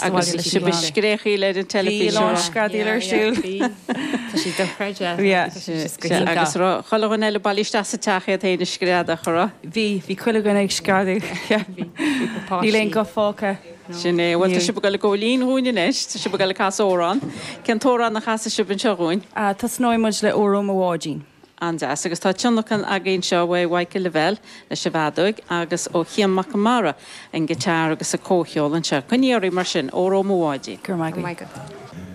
Agus bhí sibh ag scréachaíl ar an teilifís. Bhí a lán screadaíl ar siúl. Tá sé dochreidte. Agus raibh chuile dhuine eile bailithe isteach sa teach iad féin ag screadach, a raibh? Bhí, bhí chuile dhuine ag screadadh. Níl aon ghuth fágtha. Sin é. Bhuel, tá sibh ag dul ag gabháil fhoinn dhúinn anois. Tá sibh ag dul ag casadh amhrán. Cén t-amhrán a chasfaidh sibh anseo dhúinn? Tosnóidh muid le Óró Mo Bháidín. An-deas. Agus tá tionlacan againn anseo uaidh Mhichael Lavelle leis an bhfeadóig agus ó Chian Mac Conmara an guitar agus an comhcheol anseo. Coinnigh oraibh mar sin. Óró Mo Bháidín. Go raibh maith agat.